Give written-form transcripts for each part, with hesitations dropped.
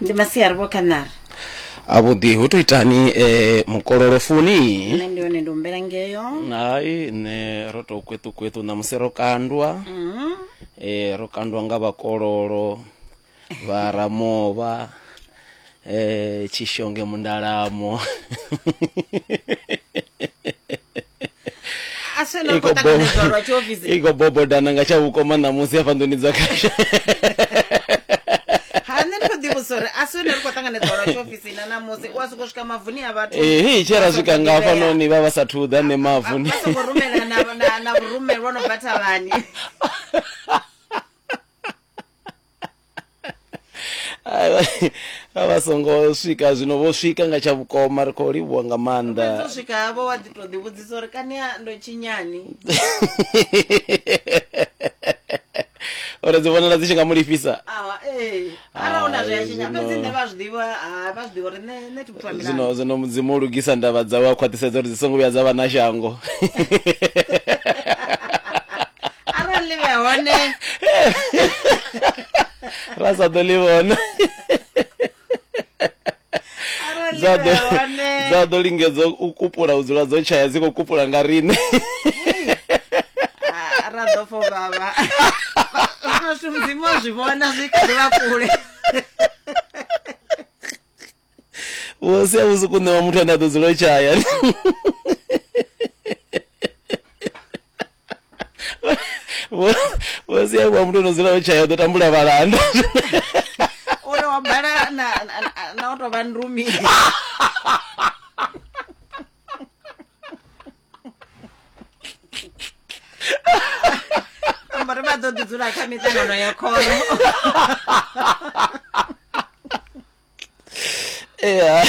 Ndi masiari vho Khanari. Avhuḓi hu to itani eh, mukololo funi? Nṋe ndi hone ndi humbela ngeyo. Hai nṋe ro to kweṱu kweṱu ṋamusi ro kandwa. Mm. Eh, ro kandwa nga vhakololo vha Ramovha eh, Tshishonge Mundalamo. A si ene ri khou ṱanganedzwa lwa tshiofisi. I khou bobodana nga tsha vhukoma ṋamusi hafha nḓuni dza khasha. Ha nṋe ndi khou ḓivhudzisa uri a si ene ri khou ṱanganedzwa lwa tshiofisi na ṋamusi u a sokou swika mavuni a vhathu. Ee, tshe ra vha swika songo nga ḓivhea. hafhanoni vha vha sathu ḓa nṋe mavuni. Vha songo rumela na na na vhurumelwa no bva thavhani. Vha vha songo swika zwino vho swika nga tsha vhukoma ri khou livhuwa nga maanḓa. Fhedzi u swika havho wa ḓi tou ḓivhudzisa uri kani a ndo tshinyani. Uri dzi vhonala dzi tshi nga mu lifhisa. Awa ee arali una zwe a Hai, tshinya zwino fhedzi nṋe vha zwi ḓivha ha vha zwi ḓivha uri nṋe nṋe thi muthu wa zwino milandu. zwino mudzimu o lugisa ndavha dzawe a khwaṱhisedza uri dzi songo vhuya dza vha na shango. Arali ḽi vhe hone ra sa ḓo ḽi vhona arali ḽi dza vhe ḓo hone dza ḓo lingedza u kupula u dzula dzo tshaya dzi khou kupula nga riṋe Ah, ra ḓo fo vhavha. Zwino zwithu mudzimu o zwi vhona zwi kha ḓi vha kule. Vho sia vhusiku ṋewa muthu ane a ḓo dzula o tshaya. Vho vho sia wa muthu ano dzula o tshaya u ḓo tambula vhalanda. Uri wa bala na na, na u tou vha ndumi. Amba ri vha ḓo ḓi dzula kha miṱangano ya khoro. Ea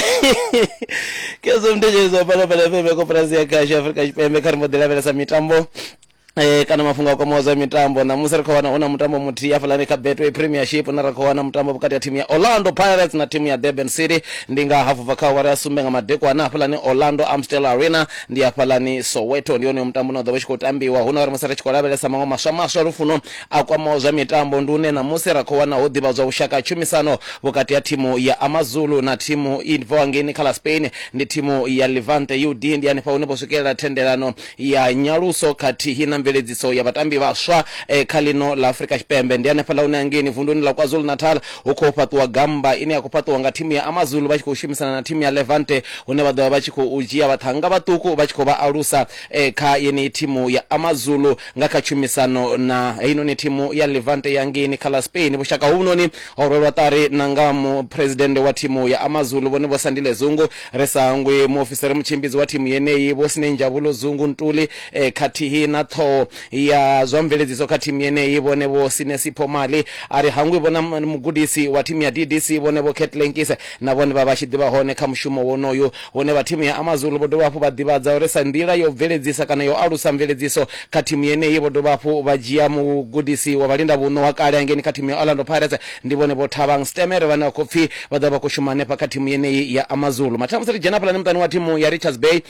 kezwo mthetshelezi Phalaphala FM koporasi ya khasho Afrika Tshipembe kha ri mbo ḓi lavhelesa mitambo eh, kana mafhungo a kwamaho zwa mitambo ṋamusi ri khou wana hu na mutambo muthihi hafhaḽani kha Betway Premiership na ra khou wana mutambo vhukati ha thimu ya Orlando Pirates na thimu ya Durban City ndi nga hafu bva kha awara ya sumbe nga madekwana hafhaḽani Orlando Amstel Arena ndi hafhaḽani Soweto ndi hone mutambo une wa ḓo vha u tshi khou tambiwa hu na uri musi ri tshi khou lavhelesa maṅwe maswa maswa lufuno a kwamaho zwa mitambo ndi une ṋamusi ra khou wana ho ḓivhadzwa vhushaka ha tshumisano vhukati ha thimu ya AmaZulu na thimu i bvaho ngeini kha ḽa Spain ndi thimu ya Levante UD. Ndi hanefha hune vho swikelela thendelano ya nyaluso khathihi na mveledziso ya vhatambi vhaswa kha ḽino ḽa Afrika Tshipembe. Ndi hanefhaḽa hune hangeini vunduni ḽa KwaZulu-Natal hu khou fhaṱiwa gamba ine ya khou fhaṱiwa nga thimu ya AmaZulu vha tshi khou shumisana na thimu ya Levante hune vha ḓo vha vha tshi khou dzhia vhaṱhannga vhaṱuku vha tshi khou vha alusa kha yeneyi thimu ya AmaZulu Nga kha tshumisano na heinoni thimu ya Levante ya ngeini kha ḽa Spain, vhushaka hovhunoni ho rwelwa ṱari na nga muphuresidennde wa thimu ya AmaZulu Vhone Vho Sandile Zungu, ri sa hangwi muofisiri mutshimbidzi wa thimu yeneyi Vho Sinenjabulo Zungu Ntuli khathihi na ṱhoho ya zwa mveledziso kha thimu yeneyi Vhone Vho Sinesipho Mali. A ri hangwi vho na mugudisi wa thimu ya DDC Vhone Vho Cat Lenkise na vhone vha vha tshi ḓivha hone kha mushumo wonoyu. Hune vha thimu ya AmaZulu vho dovha hafhu vha ḓivhadza uri sa nḓila ya u bveledzisa kana ya u alusa mveledziso kha thimu yeneyi, vho dovha hafhu vha dzhia mugudisi wa vhalindavhuṋo wa kale hangeini kha thimu ya Orlando Pirates, ndi vhone Vho Thabang Stemere vhane vha khou pfi vha ḓo vha vha khou shuma hanefha kha thimu yeneyi ya AmaZulu. Mathina musi ri dzhena hafhaḽani muṱani wa thimu ya Richards Bay,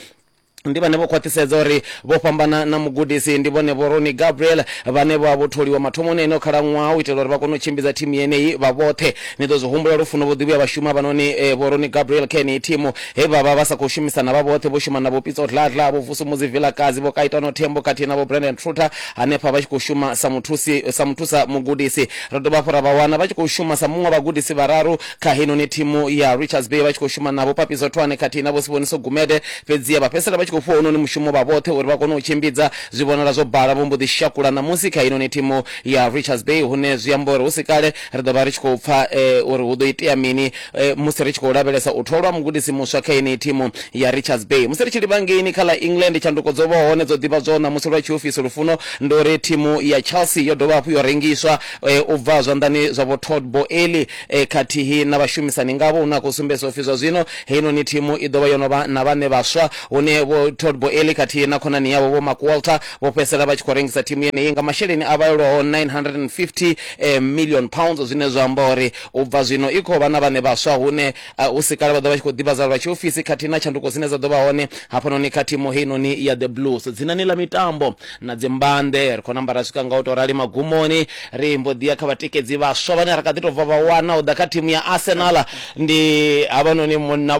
ndi vhane vho khwaṱhisedza uri vho fhambana na mugudisi ndi vhone Vho Ronnie Gabriel vhane vha vho tholiwa mathomoni eneo khalaṅwaha u itela uri vha kone u tshimbidza thimu yeneyi vha vhoṱhe. Ni ḓo zwi humbula lufuno vho ḓi vhuya vha shuma hafhanoni eh, Vho Ronnie Gabriel kha yeneyi thimu he vha vha vha sa khou shumisana vha vhoṱhe vho shuma na Vho Pitso Dladla, Vho Vusumuzi Vilakazi, Vho Kaitano Thembo khathihi na Vho Brandon Truter hanefha vha tshi khou shuma sa muthusi sa muthusa mugudisi. Ro dovha hafhu ra vha wana vha tshi khou shuma sa muṅwe wa vhagudisi vhararu kha heinoni thimu ya Richards Bay vha tshi khou shuma na Vho Papiso Thwane khathihi na Vho Siboniso Gumede fhedziha vha fhedzisela vha tshi khou fhiwa hounoni mushumo vha vhoṱhe uri vha kone u tshimbidza. Zwi vhonala zwo bala vho mbo ḓi shakula ṋamusi kha heinoni thimu ya Richards Bay hune zwi amba uri hu si kale ri ḓo vha ri tshi khou pfa uri hu ḓo itea mini musi ri tshi khou lavhelesa u tholwa mugudisi muswa kha yeneyi thimu ya Richards Bay. Musi ri tshi livha ngeini kha ḽa England, tshanduko dzo vhaho hone dzo ḓivhadzwaho ṋamusi lwa tshiofisi lufuno ndi uri thimu ya Chelsea yo dovha hafhu yo rengiswa u bva zwanḓani zwa Vho Todd Boehly khathihi na vhashumisani ngavho, hune ha khou sumbedzwa upfi zwa zwino heinoni thimu i ḓo vha yo no vha na vhaṋe vhaswa hune Vho Vho Todd Boehly khathihi na khonani yavho Vho Mark Walter vho fhedzisela vha tshi khou rengisa thimu yeneyi nga masheleni a vhalelwaho 950 million pounds, zwine zwa amba uri u bva zwino i khou vha na vhaṋe vhaswa hune hu si kale vha ḓo vha tshi khou ḓivhadza lwa tshiofisi khathihi na tshanduko dzine dza ḓo vha hone hafhanoni kha thimu heinoni ya The Blues. Dzinani ḽa mitambo na dzimbanḓe ri khou namba ra swika nga u tou rali magumoni, ri mbo ḓi ya kha vhatikedzi vhaswa vhane ra kha ḓi tou bva vha wana u ḓa kha thimu ya Arsenal. Ndi havhanoni munna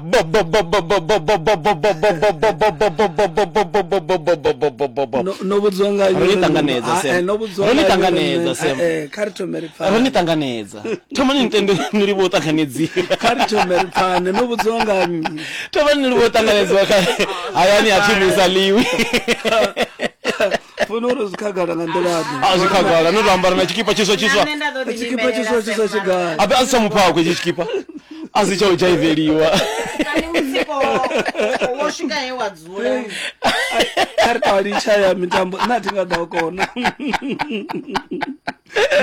No vhudziwa nga Ro ni ṱanganedza Sam. No vhudziwa Ro ni ṱanganedza Sam. Kha ri thome ri pfane. Ro ni ṱanganedza. Thomani ni tende ni livhuwe u ṱanganedziwa. Kha ri thome ri pfane. No vhudziwa nga nnyi? Thomani ni livhuwe u ṱanganedziwa kha hayani ha thimu i sa ḽiwi. Funa uri zwi khagala nga nḓila ḓe? A zwi khagala no to ambara na tshikipa tshiswa tshiswa. Na nṋe nda ḓo ḓi Tshikipa tshiswa tshiswa tshigai? Abe a si tsha mufhakho itshi tshikipa. A si tsha u dzhaiveliwa. Kani mutsiko wo swika he wa dzula. Kha ri tou litsha ya mitambo nṋe a thi nga ḓo kona.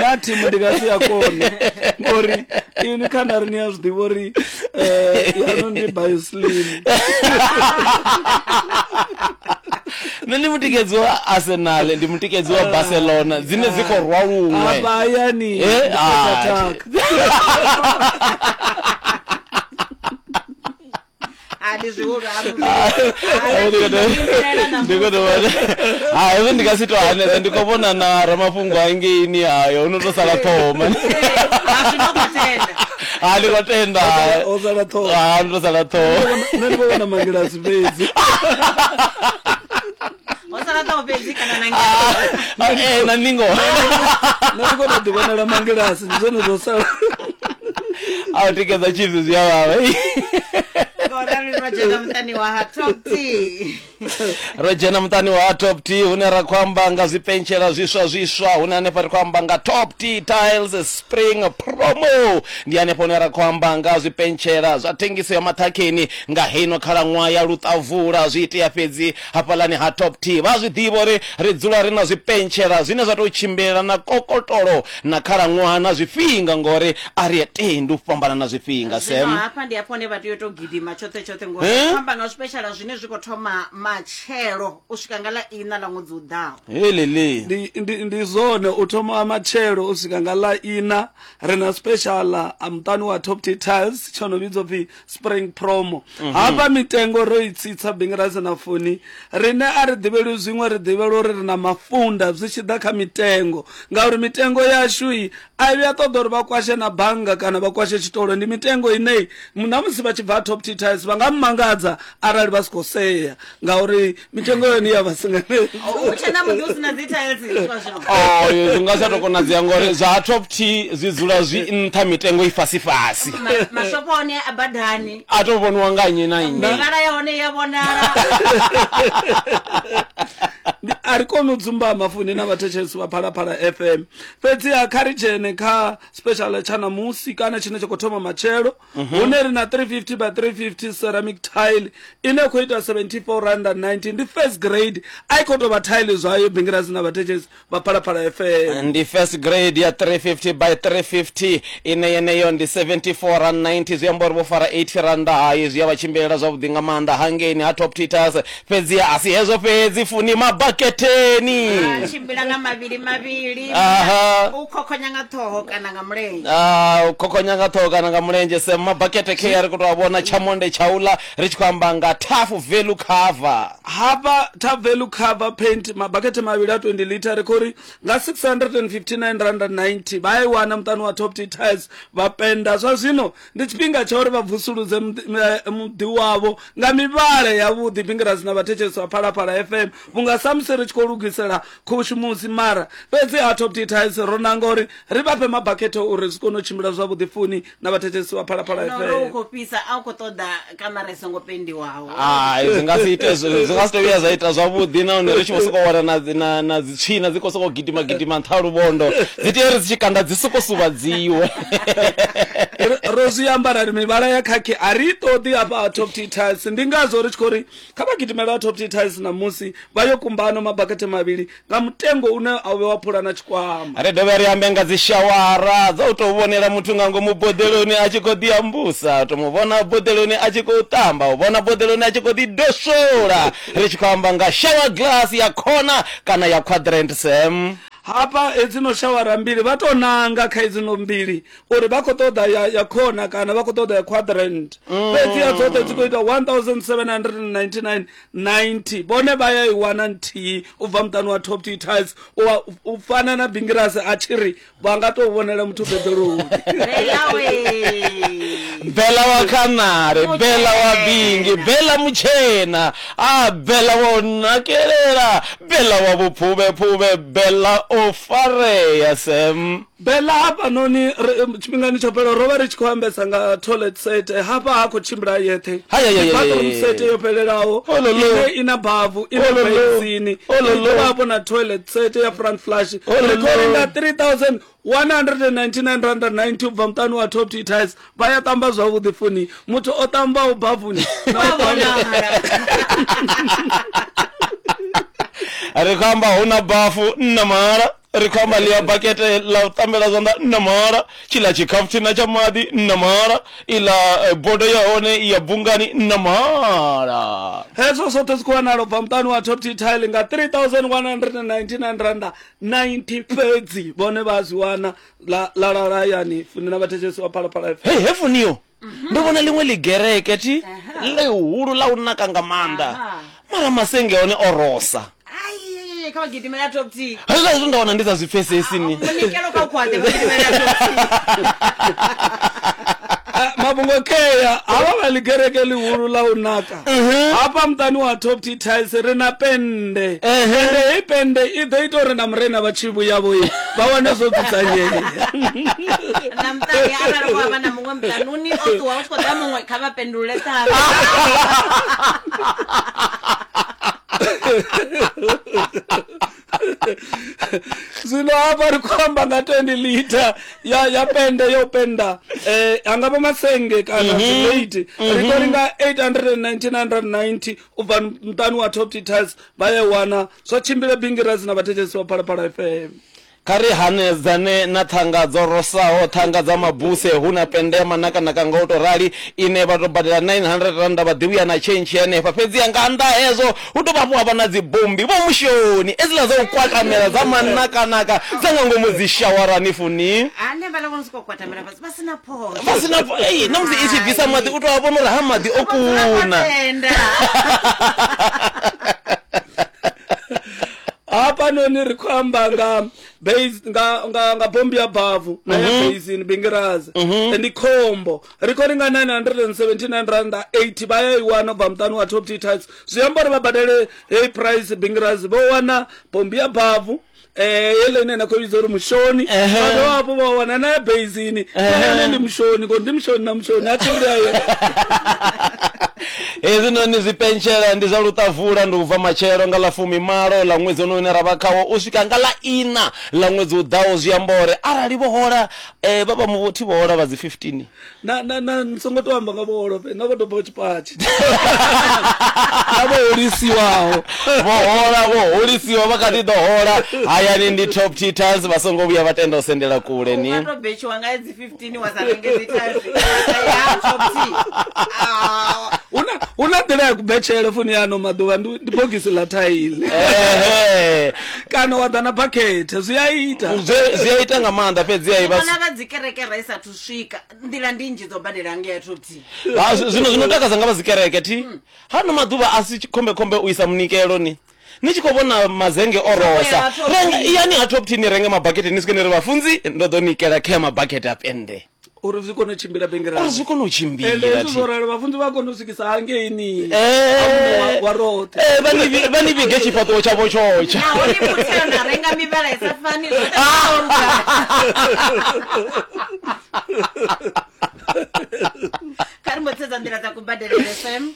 Na thimu ndi nga si ya kone ngori inwi kha nda ri ni a zwi ḓivha uri yanu ndi bioslim. Nṋe ndi mutikedzi wa Arsenal, ndi mutikedzi wa Barcelona dzine dzi khou rwa luṅwe. Afha hayani Eh, ndi ah, attack. A ndi zwihulu Ndi khou tou vhona. Ha hezwo ndi nga si to hanedza ndi khou vhona na ramafhungo hangeini hayo no to sala ṱhoho mani. A zwi no khou tenda. Ha ndi khou tenda. O sala ṱhoho. Ha ndo sala ṱhoho. Nṋe ndi vho vhona mangilasi fhedzi. Ho sala ṱhoho fhedzi kana na Eh na ningo. Nṋe ndi khou tou ḓivhonela mangilasi ndi zwone zwo sala. A u tikedza Chiefs zwi a vhavha. Ngorali ro dzhena muṱani wa ha Top T. Ro dzhena muṱani wa Top T hune ra khou amba nga zwipentshela zwiswa zwiswa, hune hanefha ri khou amba nga Top T Tiles Spring Promo. Ndi hanefha hune ra khou amba nga zwipentshela zwa thengiso ya maṱhakheni nga heino khalaṅwaha ya luṱavula. Zwi itea fhedzi hafhaḽani ha Top T. Vha zwi ḓivha uri ri dzula ri na zwipentshela zwine zwa tou tshimbila na kokotolo na khalaṅwaha na zwifhinga, ngori a ri tendi u fhambana na zwifhinga. Zwino Sam hafha ndi hafho hune vha tea u tou gidima tshoṱhe tshoṱhe ngori Eh? ri amba nga zwipeshala zwine zwi khou thoma matshelo u swika nga ḽa iṋa ḽa ṅwedzi u ḓaho. Helele. Ndi, ndi, ndi zwone u thoma matshelo u swika nga ḽa ina ri na special a muṱani wa Top T Tiles tsho no vhidzwa pfi Spring Promo. Hafha mitengo ro i tsitsa Bingirasi na Funi. Rine a ri ḓivhelwi zwiṅwe, ri ḓivhelwa uri ri na mafunda zwi tshi ḓa kha mitengo, ngauri mitengo yashu i a vhuya ṱoḓa uri vha kwashe na bannga kana vha kwashe tshitolo. Ndi mitengo ine na musi vha tshi bva Top T Tiles vha nga mmangadza arali vha si khou sea, ngauri mitengo yone ya vha singanedza. U tshe na muḓi u si na dzi tiles zwa zwino. Oh, zwi nga sa tou konadzea ngori zwa Top T zwi dzula zwi nṱha, mitengo i fhasi fhasi. Mashopo one a badani. A tou vhoniwa nga nnyi na nnyi. Mivhala ya hone ya vhonala. A ri koni u dzumbama Funi na vhathetshelesi vha Phalaphala FM. Fhedziha kha ri dzhene kha special tsha ṋamusi kana tshine tsha khou thoma matshelo, hune ri na 350 by 350 ceramic tile ine khou ita 74 rand 90. Ndi first grade, a i khou tou vha tile zwayo. Bingirasi na vhathetshelesi vha Phalaphala FM, ndi first grade ya 350 by 350 ine yeneyo ndi 74 rand 90, zwi amba uri vho fara 80 randa. Hayi zwi a vha tshimbilela zwavhuḓi nga maanḓa hangeini ha Top Titas. Fhedzi a si hezwo fhedzi, Funi mabaketeni A tshimbila nga mavhili mavhili. Aha. U khokhonya nga ṱhoho kana nga mulenzhe. Ah, u khokhonya nga ṱhoho kana nga mulenzhe. Sam mabakete ke ri khou tou a vhona tshamonde tshaula, ri tshi khou amba nga tough value cover. Hafha top value cover paint mabakete mavhili a 20 liter ri khou ri nga 659 rand 90 vha i wana muṱani wa Top T Tiles vha penda. Zwa zwino ndi tshifhinga tsha uri vha vusuludze muḓi wavho nga mivhala yavhuḓi. Bingirasi na vhathetshelesi vha Phalaphala FM, vhunga samusi ri tshi khou lugisela khushumusi, mara fhedzi ha Top T Tiles ro nanga uri ri vha fhe mabakete uri zwi kone u tshimbila zwavhuḓi. Funi na vhathetshelesi vha Phalaphala No ro u FM, khou fhisa, a u khou ṱoḓa kamara i songo pendiwaho. Hai, zwi nga si ite, zwi nga si to vhuya zwa ita zwavhuḓi, nahone ri tshi vho sokou wana na dzi- na na dzitswina dzi khou sokou gidima gidima nṱha ha luvhondo, dzi tea uri dzi tshi kanda dzi soko suvhadziwe. Ro zwi amba ra ri mivhala ya khakhi a ri i ṱoḓi hafha ha Top T Tiles. Ndi ngazwo ri tshi khou ri kha vha gidimela ha Top T Tiles ṋamusi vha yo kumba ano mabakete. mabakete mavhili nga mutengo une a u vhe wa phula na tshikwama. Ri dovhe ri ambe nga dzishawara dza u tou vhonela muthu nga ngomu boḓeloni a tshi khou ḓi ambusa, u tou mu vhona boḓeloni a tshi khou ṱamba, u vhona boḓeloni a tshi khou ḓi doswola. Ri tshi khou amba nga shower glass ya corner kana ya quadrant, Sam. Hafha hedzino shawara mbili vha tou nanga kha hedzino mbili uri vha khou ṱoḓa ya, ya corner kana vha khou ṱoḓa ya quadrant. Fhedzi ya dzoṱhe dzi khou ita 1799.90. Vhone vha ya i wana nthihi u bva muṱani wa Top T Tiles u, u fana na Bingirasi a tshi ri vha nga tou vhonela muthu beḓoloni. Bella we. Bella wa Khanare, Bella wa Bingi, Bella mutshena, a Bella wa u nakelela, Bella wa vhuphuvhephuvhe, Bella o farea Sam. Bella hafhanoni tshifhingani tsho fhelaho ro vha ri tshi khou ambesa nga toilet set, hafha ha khou tshimbila yeṱhe. Hai, hai, hai, Ndi bathroom hai. set yo fhelelaho Ololo. ine i na bavu, i na Ololo. basin, Ololo. i dovha hafhu na toilet set ya front flush. Ololo. Ri khou renga 3199 rand 90 u bva muṱani wa Top T Tiles. Vha ya tamba zwavhuḓi funi, muthu o tambaho bavuni na Wa o tamba vhonala. Ri khou amba hu na bafu nna mahala, ri khou amba ḽia bakete ḽa u ṱambela zwanḓa nna mahala, tshiḽa tshikhafuthina tsha maḓi nna mahala, iḽa bodo ya hone ya bungani nna mahala. Hezwo zwoṱhe zwi khou wanala u bva muṱani wa Top T Tile nga 3199 randa 90 fhedzi. Vhone vha a zwi wana ḽa ḽa lala hayani funi na vhathetshelesi wa Phalaphala FM. Hei hefuniyo ndo vhona ḽiṅwe ḽigereke thi ḽihulu ḽa u naka nga maanḓa, mara masenge one o rosa. Ai, kha vha gidimela Top T. Hezwiḽa zwithu nda wana ndi sa zwi pfesesi ni. Munikelo kha u khwaṱhe vha gidimela Top T. Mafhungo kea havha vha ḽigereke ḽihulu ḽa u naka hafha muṱani wa Top T Tiles ri na pennde. Ende heyi pennde i ḓo ita uri na murena vha tshi vhuya vho vha wane zwo dzudzanyea. Na muṱani arali wa vha na muṅwe muṱanuni o ṱuwa u tshi khou ḓa muṅwe kha vha pendulule ṱhamu. Zwino hafha ri khou amba nga 20 liter ya ya pennde yo penda anga vha masenge kana zwilate, ri khou renga 899 u bva muṱani wa Top T Tiles vha ya wana zwa tshimbile Bingirasi na vhathetshelesi wa Phalaphala FM. Kha ri hanedzane na ṱhanga dzo rosaho, ṱhanga dza mabuse, hu na pennde ya manakanaka nga u tou rali ine vha tou badela 900 randa vha ḓi vhuya na tshentshi henefha. Fhedziha nga nnḓa ha hezwo hu dovha hafhu ha vha na dzibombi vho mushoni edziḽa dza u kwatamela dza manakanaka dza nga ngomu dzishawarani funi. Hanefhaḽa vho no sokou kwatamela fhasi vha si na phosho. Vha si na ei na musi i tshi bvisa maḓi u tou a vhona uri ha maḓi o kuna. Tenda. Hafhanoni ri khou amba nga base nga nga nga bombi ya bavu na ya basin Bingirazi. Ndi khombo. Ri khou renga 979 randa 80 vha ya i wana u bva muṱani wa Top T Tiles. Zwi amba uri vha badele heyi price Bingirazi vho wana bombi ya bavu heiḽa ine na khou vhidza uri mushoni, vha dovha hafhu vha wana na ya basin na yone ndi mushoni, ngori ndi mushoni na mushoni a tshimbila yo. Hezwinoni zwipentshela ndi zwa luṱavula, ndi u bva matshelo nga ḽa 18 ḽa ṅwedzi une ra vha khawo u swika nga ḽa 4 ḽa ṅwedzi u ḓaho. Zwi amba uri arali vho hola vha vha muvhuthi vho hola vha dzi 15. Na na na ni songo to amba nga vho holo na vho dobaho tshipatshi na vho holisiwaho. Vho hola, vho holisiwa vha kha ḓi ḓo hola hayani ndi Top T Tiles, vha songo vhuya vha tenda u sendela kule ni. Unga to betshiwa nga dzi 15 wa sa renge dzi tiles ya Top T. Huna nḓila ya kubetshele funi ya ano maḓuvha ndi bogisi ḽa thaile. Kana wa ḓa na bakhethe zwi a ita. Zwi a ita nga maanḓa fhedzi a i vha Vhona vha dzi kereke ra i sathu swika nḓila ndi nnzhi dzo badela ngei ya Top T. Zwino zwino takadza nga vha dzi kereke thi. Hano maḓuvha a si khombe khombe u isa munikelo ni. Ni tshi khou vhona mazenge o rosa. Renga iyani ha Top T ni renge mabakete ni swike ni ri vhafunzi ndo ḓo nikela kha mabakete a pennde. Uri zwi kone u tshimbila Bingirasi. Uri zwi kone u tshimbila. Ende hezwi zwo ralo vhafunzi vha kone u swikisa hangeini. Wa roṱhe. Vha ni vhige tshifhaṱuwo tshavho tshotsha. Naho ni mutheo na renga mivhala i sa fani zwoṱhe zwo luga. Kha ri mbo sedza nḓila dza kubadelele FM.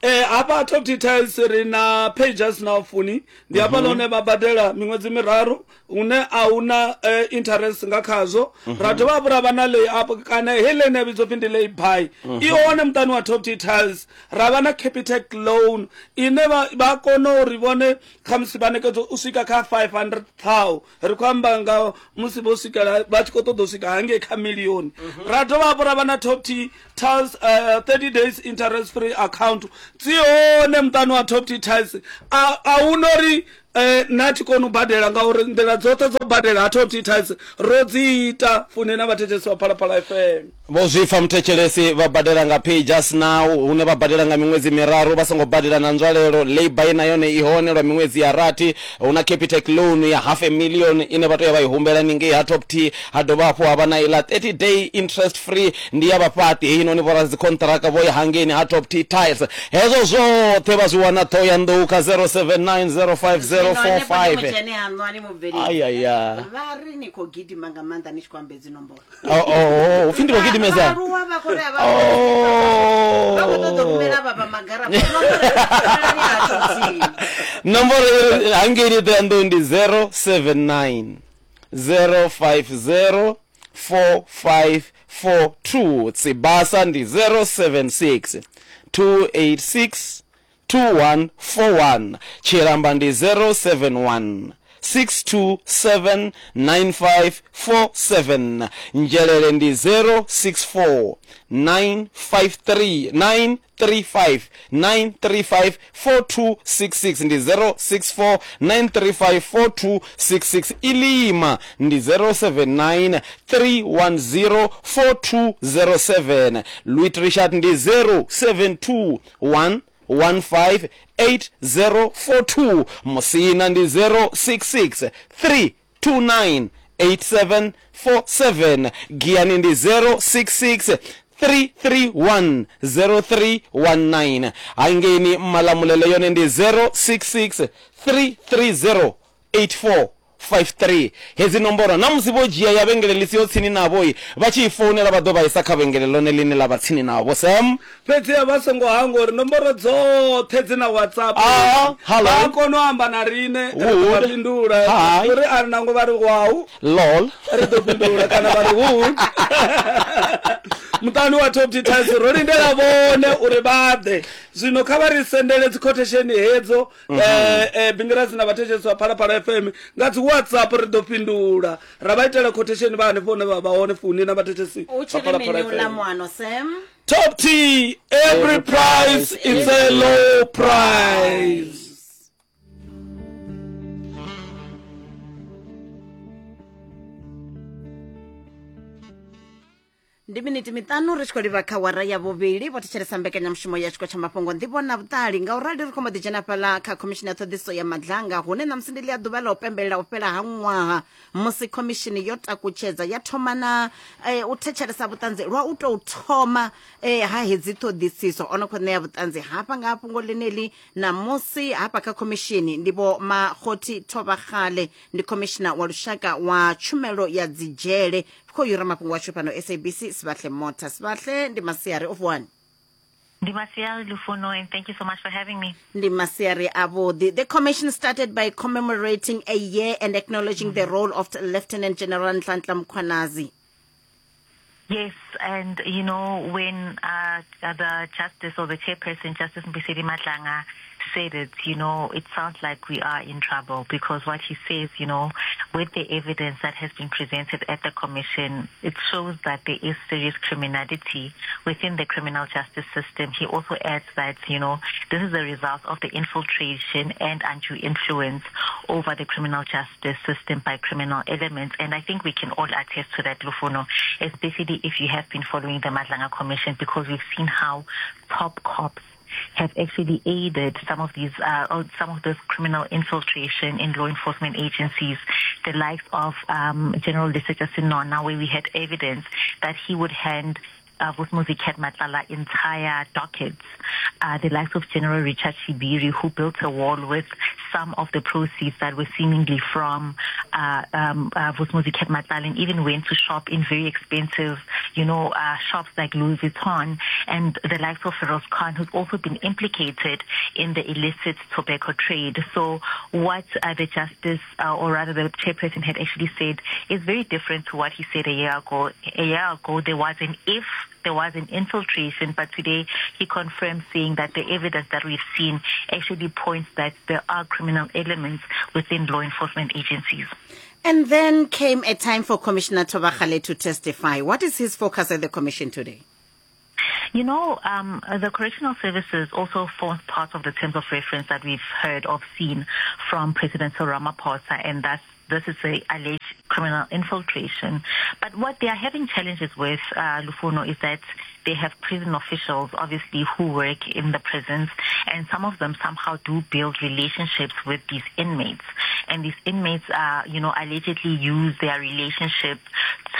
Hafha Top T Tiles ri na pages na funi ndi hafhaḽa hune vha badela miṅwedzi miraru hune a huna interest nga khazwo. Ra dovha hafhu ra vha na lay up kana heiḽa ine ya vhidzwa upfhi ndi lay buy i hone muṱani wa Top T Tiles. Ra vha na Capitec loan ine vha kona uri vhone khamusi vha ṋekedzwa u swika kha 500 thou, ri khou amba nga musi vho swikela vha tshi khou ṱoḓa u swika hangei kha milioni. Ra dovha hafhu ra vha na Top T Tiles 30 days interest free account, dzi hone muṱani wa Top T Tiles. A hu na uri na thi koni u badela ngauri nḓila dzoṱhe dzo badela ha Top T Tiles ro dzi ita. Funi na vhathetshelesi vha Phalaphala FM. Vho zwi pfa muthetshelesi, vha badela nga Pay Just Now, hune vha badela nga miṅwedzi miraru vha songo badela na nzwalelo. Lay-by na yone i hone lwa miṅwedzi ya rathi. Hu na Capitec loan ya half a million ine vha tea u ya vha i humbela ningei ha Top T. Ha dovha hafhu ha vha na iḽa 30 day interest free, ndi ya vhafhaṱi heinoni vho radzikhonṱhiraka vho ya hangeini ha Top T Tiles. Hezwo zwoṱhe vha zwi wana Ṱhohoyanḓou kha Zwino henefho ndi 07905045. mutshene haṋu a ni mubveledzi. Ayaya. Vha ri ni khou gidima nga maanḓa ni tshi khou amba hedzi nomboro. Oh, oh, oh, upfi ndi khou gidimesa. Vhaaluwa vha khou ri a vha vha khou ṱoḓa u rumela vha vha magaraṱo. Nomboro rumelani ha Top T. Nomboro hangeini Ṱhohoyanḓou ndi 079 050 4542. Tsibasa ndi 076 286 2141. Tshilamba ndi 071 627 9547. Nzhelele ndi 064 953 935 935 4266, ndi 064 935 4266. Ilima ndi 079 310 4207. Louis Richard ndi 072 1 15 8042. Musina ndi 066 329 8747. Giyani ndi 066 331 0319. Hangeni Malamulele yone ndi 066 330 8453. Hedzi nomboro na musi vho dzhia ya vhengele ḽi siho tsini navho, vha tshi i founela vha ḓo vha isa kha vhengele ḽone ḽine ḽa vha tsini navho. Sam, Fhedziha vha songo hangwa uri nomboro dzoṱhe dzi na WhatsApp. Hello. Vha kona u amba na riṋe, ri ḓo vha Wood. fhindula. Hi. Uri a ri nangwe vha ri wau, Lol. ri ḓo fhindula kana vha ri wood. Muṱani wa Top T Tiles ro lindela vhone uri vha ḓe. Zwino kha vha ri sendele dzi quotation hedzo, Bingirasi na vhathetshelesi vha Phalaphala FM nga dzi WhatsApp, ri ḓo fhindula ra vha itela quotation vha hanefho hune vha vha hone. Funi na vhathetshelesi U vha tshi ri Phalaphala mini uḽa FM. muano Sam? Top T, every price is a low price. Ndi miniti miṱanu ri tshi khou livha kha wara ya vhuvhili. Vho thetshelesa mbekanyamushumo ya tshiko tsha mafhungo nḓivho na vhuṱali. Ngaurali ri khou mbo ḓi dzhena fhaḽa kha khomishini ya ṱhoḓisiso ya Madlanga, hune ṋamusi ndi ḽia ḓuvha ḽa u pembelela u fhela ha ṅwaha musi khomishini yo takutshedza ya thoma na u thetshelesa vhuṱanzi lwa u tou thoma ha hedzi ṱhoḓisiso. O no khou ṋea vhuṱanzi hafha nga fhungo ḽeneḽi ṋamusi hafha kha khomishini ndi vho Makgothi Thobakgale, ndi khomishina wa lushaka wa tshumelo ya dzidzhele. Khou yura mafhungo ashu fhano SABC Sibahle Mota. Sibahle, ndi masiari o vuwani? Ndi masiari Lufuno, and thank you so much for having me. Ndi masiari avhuḓi. The commission started by commemorating a year and acknowledging the role of Lieutenant General Nhlanhla Mkhwanazi. Yes, and you know, when the justice or the chairperson, Justice Mbuyiseli Madlanga, said it, you know, it sounds like we are in trouble, because what he says, you know, with the evidence that has been presented at the commission, it shows that there is serious criminality within the criminal justice system. He also adds that, you know, this is a result of the infiltration and undue influence over the criminal justice system by criminal elements. And I think we can all attest to that, Lufuno, especially if you have been following the Madlanga Commission, because we've seen how top cops have actually aided some of these, some of this criminal infiltration in law enforcement agencies, the likes of General Lesetja Senona, where we had evidence that he would hand Vusimuzi Cat Matlala entire dockets, the likes of General Richard Shibiri, who built a wall with some of the proceeds that were seemingly from Vusimuzi Cat Matlala and even went to shop in very expensive, you know, shops like Louis Vuitton, and the likes of Feroz Khan, who's also been implicated in the illicit tobacco trade. So what the justice, or rather the chairperson had actually said is very different to what he said a year ago. A year ago, there was an if, there was an infiltration, but today he confirmed saying that the evidence that we've seen actually points that there are criminal elements within law enforcement agencies. And then came a time for Commissioner Thobakgale to testify. What is his focus at the commission today? You know, the correctional services also forms part of the terms of reference that we've heard of seen from President Cyril Ramaphosa, and that's this is a alleged criminal infiltration. But what they are having challenges with, Lufuno, is that they have prison officials, obviously, who work in the prisons, and some of them somehow do build relationships with these inmates. And these inmates, you know, allegedly use their relationship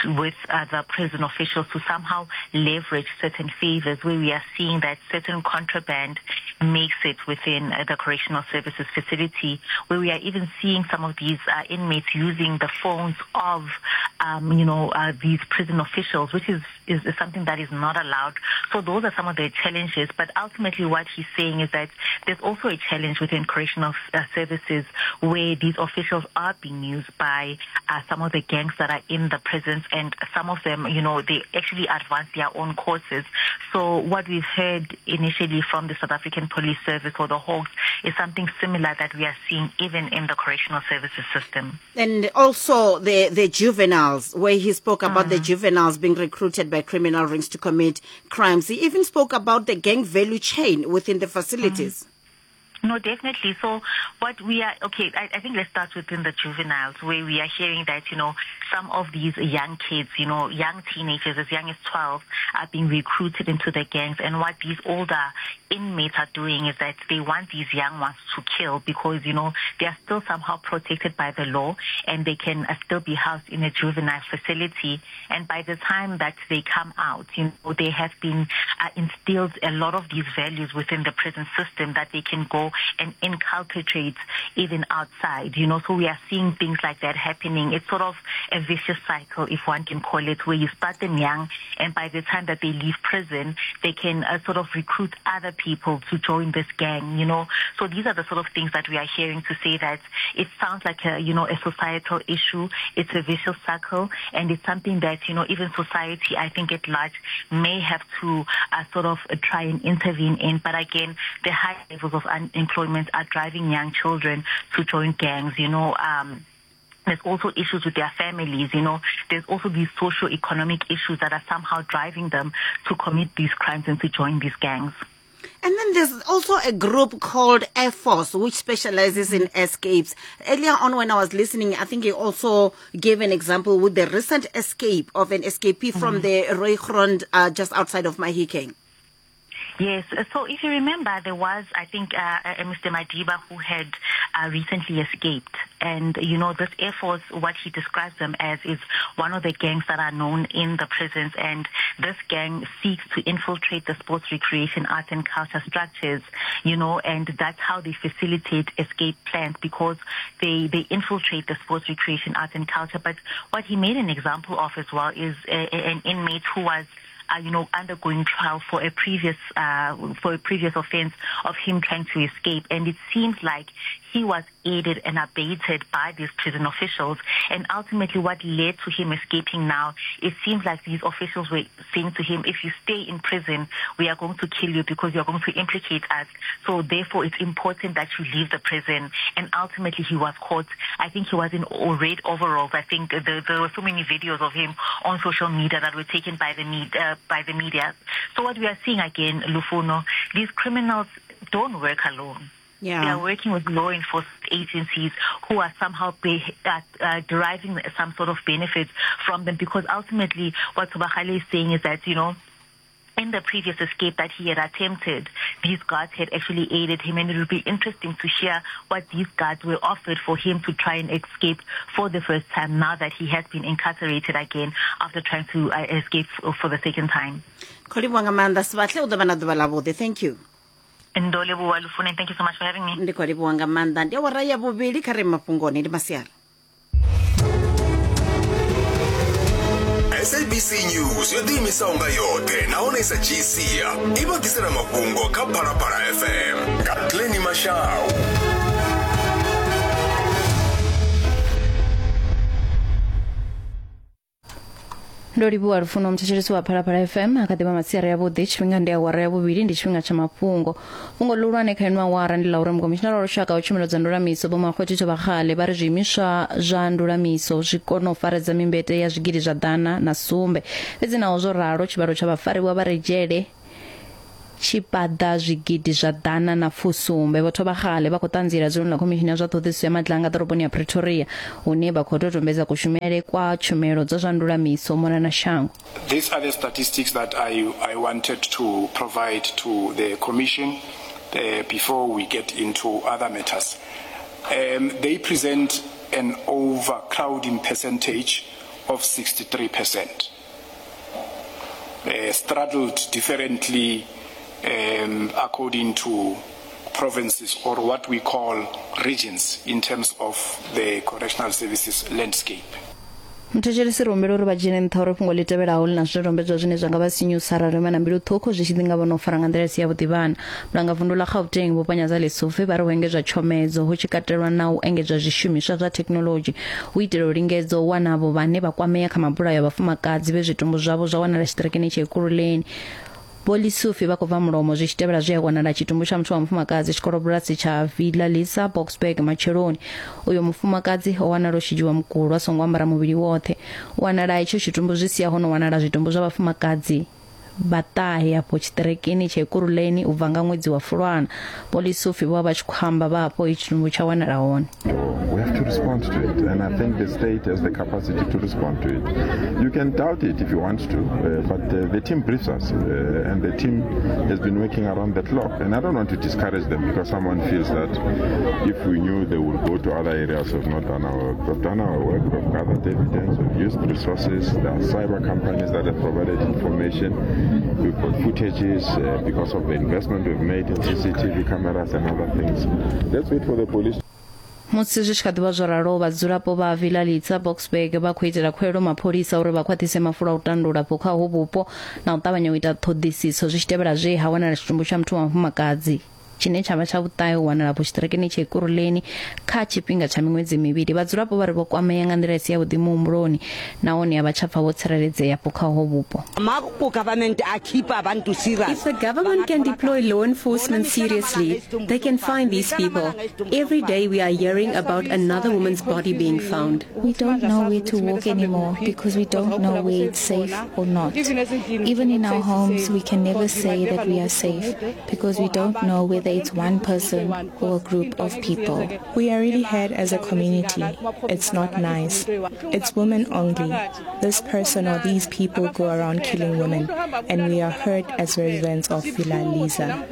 with the prison officials to somehow leverage certain favors, where we are seeing that certain contraband makes it within the correctional services facility, where we are even seeing some of these inmates using the phones of, you know, these prison officials, which is something that is not allowed. So those are some of the challenges. But ultimately what he's saying is that there's also a challenge within correctional services where these officials are being used by some of the gangs that are in the prisons, and some of them, you know, they actually advance their own courses. So what we've heard initially from the South African Police Service or the Hawks is something similar that we are seeing even in the correctional services system. And also the juveniles, where he spoke about the juveniles being recruited by criminal rings to commit crimes. He even spoke about the gang value chain within the facilities. No, definitely. So what we are, okay, I think let's start within the juveniles, where we are hearing that, you know, some of these young kids, you know, young teenagers as young as 12 are being recruited into the gangs. And what these older inmates are doing is that they want these young ones to kill because, you know, they are still somehow protected by the law and they can still be housed in a juvenile facility. And by the time that they come out, you know, they have been instilled a lot of these values within the prison system that they can go and inculcate even outside, you know. So we are seeing things like that happening. It's sort of a vicious cycle, if one can call it, where you start them young, and by the time that they leave prison, they can sort of recruit other people to join this gang, you know. So these are the sort of things that we are hearing to say that it sounds like a, you know, a societal issue. It's a vicious cycle, and it's something that, you know, even society, I think at large, may have to sort of try and intervene in. But again, the high levels of unemployment are driving young children to join gangs, you know. There's also issues with their families, you know. There's also these socio-economic issues that are somehow driving them to commit these crimes and to join these gangs. And then there's also a group called Air Force, which specializes in escapes. Earlier on when I was listening, I think he also gave an example with the recent escape of an escapee from the Rooigrond just outside of Mahikeng. Yes. So if you remember, there was, I think, Mr. Madiba who had recently escaped. And, you know, this Air Force, what he describes them as is one of the gangs that are known in the prisons. And this gang seeks to infiltrate the sports, recreation, arts and culture structures, you know, and that's how they facilitate escape plans, because they infiltrate the sports, recreation, arts and culture. But what he made an example of as well is an inmate who was you know, undergoing trial for a previous offense of him trying to escape. And it seems like he was aided and abated by these prison officials. And ultimately what led to him escaping now, it seems like these officials were saying to him, if you stay in prison, we are going to kill you because you're going to implicate us. So therefore, it's important that you leave the prison. And ultimately, he was caught. I think he was in red overalls. I think there were so many videos of him on social media that were taken by the media. So what we are seeing again, Lufuno, these criminals don't work alone. Yeah. They are working with law enforcement agencies who are somehow deriving some sort of benefits from them, because ultimately what Thobakgale is saying is that, you know, in the previous escape that he had attempted, these guards had actually aided him, and it would be interesting to hear what these guards were offered for him to try and escape for the first time now that he has been incarcerated again after trying to escape for the second time. Thank you. Ndo livhuwa Lufune, thank you so much for having me. Ndi khou livhuwa nga maanḓa. Ndi awara ya vhuvhili kha ri mafhungoni ndi masiari. SABC News yo ḓiimisaho nga yoṱhe nahone i sa dzhii sia i vha ḓisela mafhungo kha Phalaphala FM nga Glenny Mashau. Ndo livhuwa lufuno muthetshelesi wa Phalaphala FM a kha ḓivha masiari avhuḓi tshifhinga ndi awara ya vhuvhili ndi tshifhinga tsha mafhungo fhungo ḽihulwane kha ino awara ndi ḽa uri mukomishinara wa lushaka wa tshumelo dza ndulamiso vho Makgwethitho Vhagale vha ri zwiimiswa zwa ndulamiso zwi kona u faredza mimbete ya zwigidi zwa 107 fhedzi naho zwo ralo tshivhalo tsha vhafariwa vha re dzhele tshi paḓa zwigidi zwa 117. Vho Thobagale vha khou ṱanziela dzuloni ḽa Khomishini ya zwa Ṱhoḓisiso ya Madlanga ḓoroboni ya Pretoria hune vha khou dodombedza kushumele kwa tshumelo dza zwa ndulamiso u mona na shango. These are the statistics that I, I wanted to provide to the Commission uh, before we get into other matters. Um, they present an overcrowding percentage of 63%. Uh, straddled differently um, according to provinces or what we call regions in terms of the correctional services landscape. Muthetshelesi ri humbela uri vha dzhiele nṱha uri fhungo ḽi tevhelaho ḽi na zwidodombedzwa zwine zwa nga vha sinyusa arali vha na mbilu ṱhukhu zwi tshi ḓi nga vho no fara nga nḓila i si yavhuḓi vhana. Mulangavundu ḽa Gauteng Vho Panyaza Lesufi vha ri hu engedzwa tshomedzo hu tshi katelwa na u engedzwa zwishumiswa zwa thekhinoḽodzhi hu itela u lingedza u wana avho vhane vha kwamea kha mabulayo a vhafumakadzi vhe zwitumbu zwavho zwa wanala tshiṱirikini tsha Ekurhuleni. Vho Lesufi vha khou bva mulomo zwi tshi tevhela zwe a wanala tshitumbu tsha muthu wa mufumakadzi tshikolobulasi tsha Villa Lisa Boksburg matsheloni. Uyo mufumakadzi o wanala o shidzhiwa mukulo a songo ambara muvhili woṱhe. U wanala itsho tshitumbu zwi sia ho no wanala zwitumbu zwa vhafumakadzi vha ṱahe afho tshiṱirikini tsha Ekurhuleni u bva nga ṅwedzi wa Fulwana. Vho Lesufi vho vha vha tshi khou amba vha afho itshi tshitumbu tsha wanala hone. We have to respond to it, and I think the state has the capacity to respond to it. You can doubt it if you want to, uh, but uh, the team briefs us, uh, and the team has been working around the clock. And I don't want to discourage them because someone feels that if we knew they would go to other areas, we've not done our work. We've done our work, we've gathered evidence, we've used resources. There are cyber companies that have provided information. We've got footages uh, because of the investment we've made in CCTV cameras and other things. Let's wait for the police. Musi zwi tshi kha ḓi vha zwo ralo, vhadzulapo vha Villa Litsa, Boksburg vha khou itela khuwelelo mapholisa uri vha khwaṱhise mafulo a u tandula afho kha uho vhupo na u ṱavhanya u ita ṱhoḓisiso zwi tshi tevhela zwe ha wanala tshitumbu tsha muthu wa mufumakadzi tshine tsha vha tsha vhuṱahe u wanala afho tshiṱirikini tsha Ekurhuleni kha tshifhinga tsha miṅwedzi mivhili. Vhadzulapo vha ri vho kwamea nga nḓila i si yavhuḓi muhumbuloni nahone a vha tsha pfa vho tsireledzea afho kha uho vhupo. If the government can deploy law enforcement seriously, they can find these people. Every day we are hearing about another woman's body being found. We don't know where to walk anymore because we don't know where it's safe or not. Even in our homes, we can never say that we are safe because we don't know whether it's one person or a group of people. We are really hurt as a community. It's not nice. It's women only. This person or these people go around killing women, and we are hurt as residents of Villa Lisa.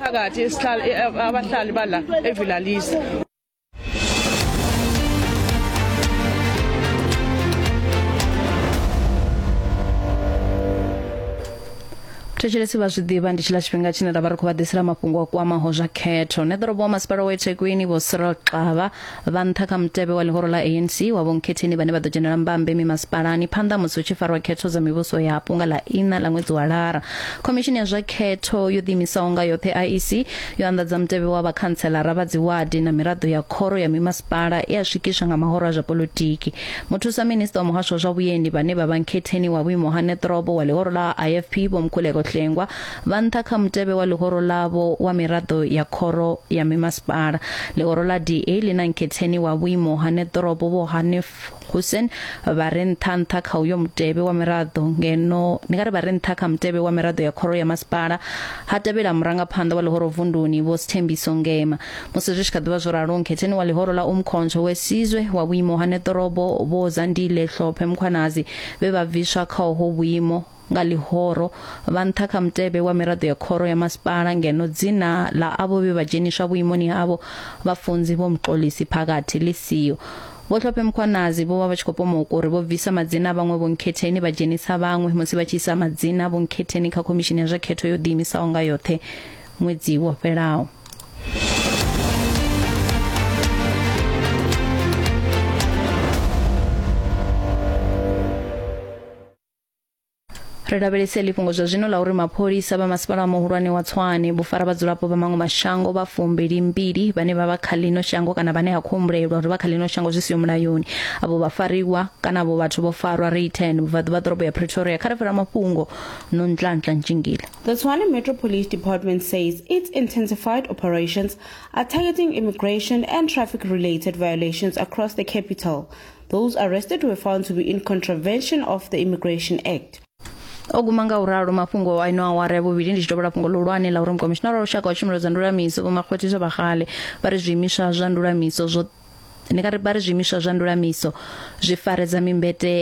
Thetshelesi vha zwi ḓivha ndi tshiḽa tshifhinga tshine ra vha ri khou vha ḓisela mafhungo a kwamaho zwa khetho. Neḓorobo wa masipala wa eThekwini Vho Cyril Xaba vha nṱha kha mutevhe wa ḽihoro ḽa ANC wa vhonkhetheni vhane vha ḓo dzhenela mbambe mimasipalani phanḓa musi hu tshi farwa khetho dza mivhuso yapo nga ḽa iṋa ḽa ṅwedzi wa Lara. Khomishini ya zwa khetho yo ḓiimisaho nga yoṱhe IEC yo anḓadza mutevhe wa vhakhantselara vha dziwadi na miraḓo ya khoro ya mimasipala e a swikiswa nga mahoro a zwa poḽotiki. Muthusa minisiṱa wa muhasho wa zwa vhuendi vhane vha vha nkhetheni wa vhuimo ha neḓorobo wa ḽihoro ḽa IFP Vho Mkhuleko Hlengwa vha nṱha kha mutevhe wa ḽihoro ḽavho wa miraḓo ya khoro ya mimasipala. Ḽihoro ḽa DA ḽi na nkhetheni wa vhuimo ha neḓorobo Vho Hanif Hoosen vha re nṱha nṱha kha uyo mutevhe wa miraḓo ngeno ndi nga ri vha re nṱha kha mutevhe wa miraḓo ya khoro ya masipala ha tevhela murangaphanḓa wa ḽihoro vunduni Vho Sthembiso Ngema. Musi zwi tshi kha ḓi vha zwo ralo, nkhetheni wa ḽihoro ḽa Umkhonto we Sizwe wa vhuimo ha neḓorobo Vho Zandile Hlophe Mkhwanazi vhe vha bviswa kha uho vhuimo nga ḽihoro vha nṱha kha mutevhe wa miraḓo ya khoro ya masipala ngeno dzina ḽa avho vhe vha dzheniswa vhuimoni havho vhafunzi Vho Mxolisi Phakathi ḽi siho. Vho Hlophe Mkhwanazi vho vha vha tshi khou pomoka uri vho bvisa madzina a vhaṅwe vhonkhetheni vha dzhenisa vhaṅwe musi vha tshi isa madzina a vhonkhetheni kha khomishini ya zwa khetho yo ḓiimisaho nga yoṱhe ṅwedzi wo fhelaho. Ri lavhelese heḽi fhungo zwa zwino ḽa uri mapholisa vha masipala muhulwane wa Tshwane vho fara vhadzulapo vha maṅwe mashango vha 22 vhane vha vha kha ḽino shango kana vhane ha khou humbulelwa uri vha kha ḽino shango zwi siho mulayoni. Avho vhafariwa kana avho vhathu vho farwa Rayton vhubvaḓuvha ḓorobo ya Pretoria. Kha ri fhira mafhungo Nonhlanhla Ntshingila. The Tshwane Metro Police Department says its intensified operations are targeting immigration and traffic-related violations across the capital. Those arrested were found to be in contravention of the Immigration Act. O guma nga u ralo mafhungo a ino awara ya vhuvhili ndi tshi tovhola fhungo ḽihulwane ḽa uri mukomishinara wa lushaka wa tshumelo dza ndulamiso Vho Makgwethiswa Bagale vha ri zwiimiswa zwa ndulamiso zwo ndi nga ri vha ri zwiimiswa zwa ndulamiso zwi faredza mimbete.